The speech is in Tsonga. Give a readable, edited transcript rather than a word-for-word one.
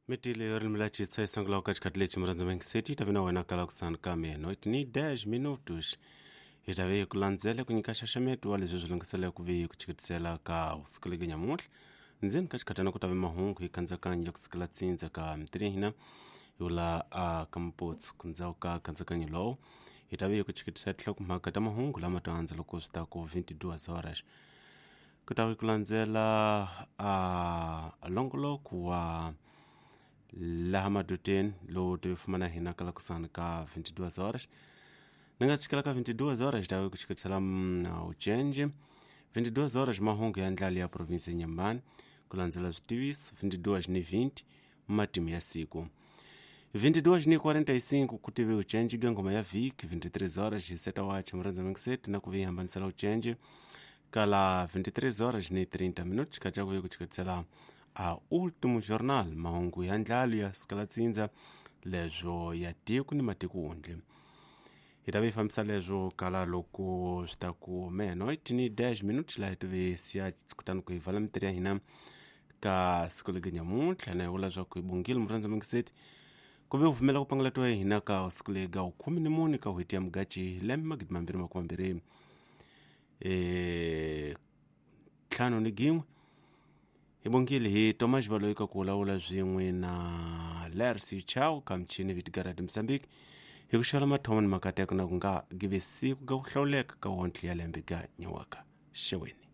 Mitile rilimi la chitsa isangula ka xikhathi lexi murhandzi mangiseti yi ta vi na wena kala kusani ka menoit ni 10 minutos hi ta ve hi ku landzela ku nyika xaxameto wa leswi swi lunghiseleke ku ve ku chikitisela ka siku leke nyamuntlha ndzeni ka xikhathana ku ta ve mahungu hi kandzakanyo ya ku sikela tsindza ka mitiri ya hina hi vula a ka mputsu ku ndzhaku ka kandzakanyo lowu hi ta ve hi ku chikitisela tinhlokomhaka ta mahungu lama to andza loko swi ta ku 22 horas ku ta ve ku landzela a longoloko wa laha madoteni lowu ti fumana hina kala kusani ka 22 horas ni nga tshikela ka 22 horas ta ku chikisela uchenji 22 horas mahungu ya ndlala ya provinsi ya Nyambani ku landzela switiviso 22 ni 20 matimu ya siku 22 ni 45 ku tive uchenji ka ngoma ya vhiki 23 horas hi seta wachi murhandza mingiseti na ku vi hambanisela uchenji kala 23 horas ni 30 minutos kaca ku ve ku chikisela a último jornal mahungu ya ndlalo ya sikalatsindza leswo ya tiko ni matiko wundle hi ta vi fambisa leswo kala loko swi ta ku menoit ni 10 minutos laha hi tive siya kutani ku hi vala mitirhi ya hina ka siku leke nyamuntlha na hi vula swa ku hi bongile murhandza mingiseti ku ve pfumela ku pangalatiwa ya hina ka siku leyi ga 14 ka n'hweti ya mugaci lembe 2025 ntlhanu ni gin'we hi bongile hi Thomas Baloyi ka ku vulavula swin'we na Lersi Chau ka michini Vitgarad Mozambique hi ku xava mathomo ni makateko na ku nga give siku ga ku hlawuleka ka wontle ya lembe ga nyawaka xeweni.